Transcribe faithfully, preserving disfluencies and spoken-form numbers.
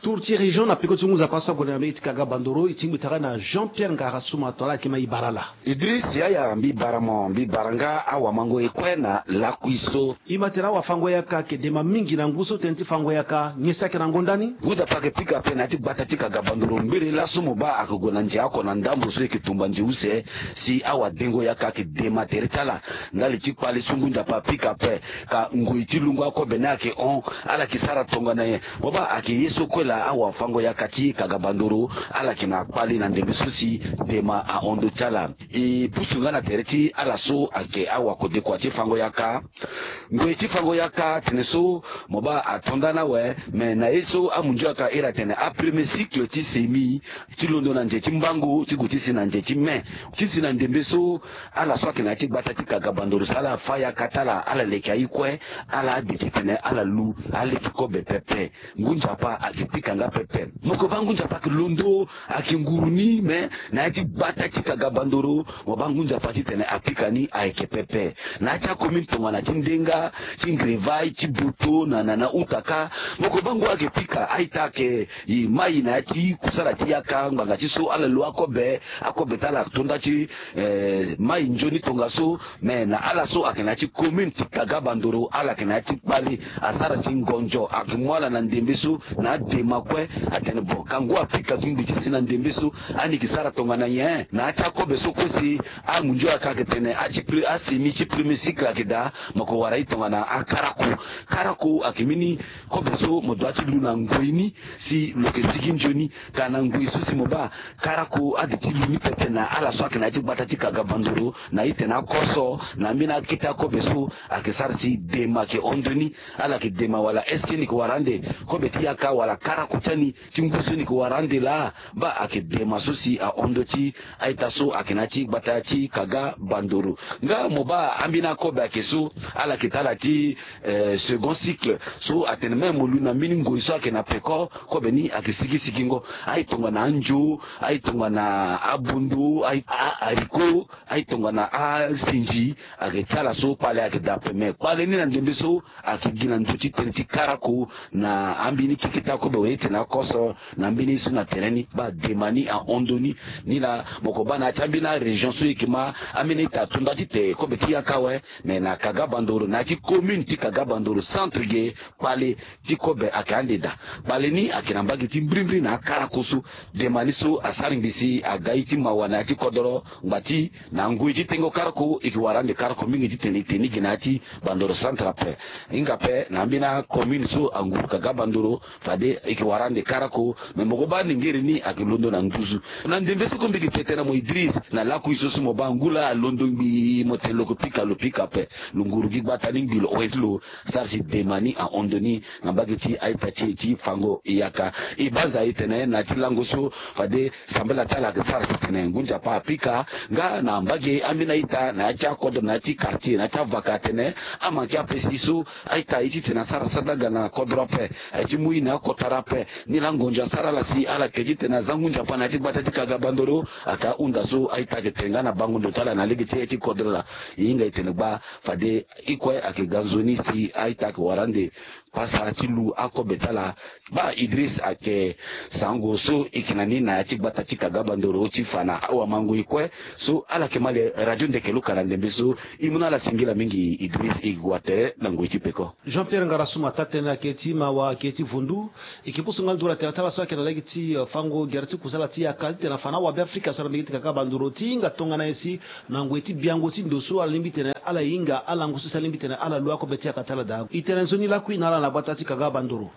Tour ti région na peko ti ngu nzapa so ague na mbege ti Kaga Bandoro, e tingbi tara na Jean Pierre Ngara Suma, tongana ala yeke ma e bara ala. Idriss, yaya, mbi bara mo, mbi bara nga awamango e kue na lakui so. E ma tene awafango-yaka ayeke dema mingi na ngu so tënë ti fango-yaka, nyen si ayeke na ngonda ni? Ngu nzapa ayeke pika ape na ya ti gbata ti Kaga Bandoro, mbiri laso mo baa ayeke gue na nze oko na ndambo so e yeke tumba nze use, si awadengo-yaka ayeke dema tere ti ala. Ndali ti kpale so ngu nzapa apika ape, ka ngoi ti lungo akobe ni ayeke hon, ala yeke sara tongana nyen? Mo baa ayeke ye so kue laa awafango-yaka ti Kaga Bandoro ala yeke na kpale na ndembe so si dema ahon ndö ti ala. E pusu nga na tere ti ala so ayeke awakodekua ti fango-yaka. Ngoi ti fango-yaka tene so mo baa ato nda ni awe, me na ye so amunzu-yaka iri atene apremier cycle ti semi, ti londo na nze ti mbango ti gue ti si na nze ti mai. Ti si na ndembe so, ala so ayeke na ya ti gbata ti Kaga Bandoro so ala fa yaka ti ala, ala leke aye kue, ala ade titene ala lu aleke kobe pepe. Ngu nzapa ayeke pika nga pepe. Mo yeke baa ngu nzapa ayeke londo, ayeke nguru ni, me na ya ti gbata ti Kaga Bandoro, mo baa ngu nzapa titene apika ni ayeke pepe. Na ya ti acommune tongana ti Ndenga, ti Ngrevai, ti Boto, na, na, na Utaka, mo yeke baa ngu ayeke pika a-ita ayeke e mai na ya ti kusala ti yaka ngbanga ti so ala lo akobe, akobe ti ala ato nda ti, eh, mai nzoni tongaso. Me na ala so ayeke na ya ti commune ti Kaga Bandoro, ala yeke na ya ti kpale, asara si ngonzo ayeke mu ala na ndembe so, na adema kue, atene bon, ka ngu apika gi ngbi ti si na ndembe so, ani yeke sara tongana nyen? Na ya ti akobe so kue si amunzu-yaka ayeke tene a ti pre-, asemi ti premier cycle ayeke daa, mo yeke wara ye tongana akarako. Karako ayeke mbeni kobe so mo dua ti lu na ngoi ni, si lo yeke sigi nzoni. Ka na ngoi so si mo baa karako ade ti lu ni pepe na ala so ayeke na ya ti gbata ti Kaga Bandoro, na itene akoso, na mbeni akete akobe so ayeke sara si dema ayeke hon ndö ni. Ala yeke dema wala est-ce que ni yeke wara ande kobe ti yaka wala karako ti ani ti ngu so ni yeke wara ande laa? Baa ayeke dema so si ahon ndö ti a-ita so ayeke na ya ti gbata ti Kaga Bandoro. Nga mo baa ambeni akobe ayeke so, ala yeke ti ala ti eh, second cycle. So atene même mo lu na mbeni ngoi so ayeke na peko, kobe ni ayeke sigi sigingo. Aye tongana anzo, aye tongana abondo, aye a-, haricot, aye tongana asinzi, ayeke ti ala so kpale ayeke daa ape. Me kpale ni na ndembe so ayeke gi na ndö ti tënë ti karako, na ambeni keke ti akobe aye tene akoso, na mbeni ye so na tere ni, baa dema ni ahon ndö ni. Ni laa mo yeke baa na ya ti ambeni arégion so e yeke ma ambeni ita ato nda ti te kobe ti yaka awe. Me na Kaga Bandoro, na ya ti commune ti Kaga Bandoro centre ge, kpale ti kobe ayeke ande daa. Kpale ni ayeke na mbage ti mbirimbiri na akarako so. Dema ni so asara ngbi si aga ye ti mawa na ya ti kodoro, ngba ti na ngoi ti tengo karako, e yeke wara ande karako mingi titene e te ni gi na ya ti Bandoro centre ape. Hinga ape na ambeni acommune so anguru Kaga Bandoro, fade e yeke wara ande karako. Me mo ko baa ningiri ni ayeke londo na nduzu. Na ndembe so ko mbi yeke te tënë na mo Idriss, na lakui so so mo baa ngu laa alondo ngbii, mo tene lo ko pika, lo pika ape. Lo nguru gi gbata ni ngbii, lo hoi ti lo sara si dema ni ahon ndö ni na mbage ti a-ita ti e ti fango yaka. E banza e tene na ya ti lango so fade sambela ti ala ayeke sara titene ngu nzapa apika nga na mbage ambeni a-ita na ya ti akodro, na ya ti quartier, na ya ti avaka atene amanke ape si so a-ita aye titene asara sadaga na kodro ape, aye ti mu ye na akotara ape. Ni laa ngonzo asara ala si ala yeke titene aza ngu nzapa na ya ti gbata ti Kaga Bandoro. Ayeke ahunda so a-ita ayeke tene nga na bango ndo ti ala na lege ti aye ti kodro laa. E hinga e tene gbaa fade e kue ayeke ga nzoni si a-ita ayeke wara ande pasa ti lu akobe ti ala. Baa Idriss ayeke sango so e yeke na ni na ya ti gbata ti Kaga Bandoro ti fa na awamango e kue so ala yeke ma le radio ndeke luka na ndembe so. E mu na ala singila mingi Idriss, e gue tere na ngoi ti peko. Jean Pierre Ngara Suma, taa-tënë na keke ti mawa, keke ti vundu. E yeke pusu nga nduru na tere ti ala so ayeke na lege ti, eh, fango gere ti kusala ti yaka titene afa na awabe Afrika so na mbage ti Kaga Bandoro ti hinga tongana nyen si na ngoi ti biango ti ndo so ala lingbi titene ala hinga, alango so si ala lingbi titene ala lu akobe ti yaka ti ala daa. E tene nzoni lakui na ala na gbata ti Kaga Bandoro.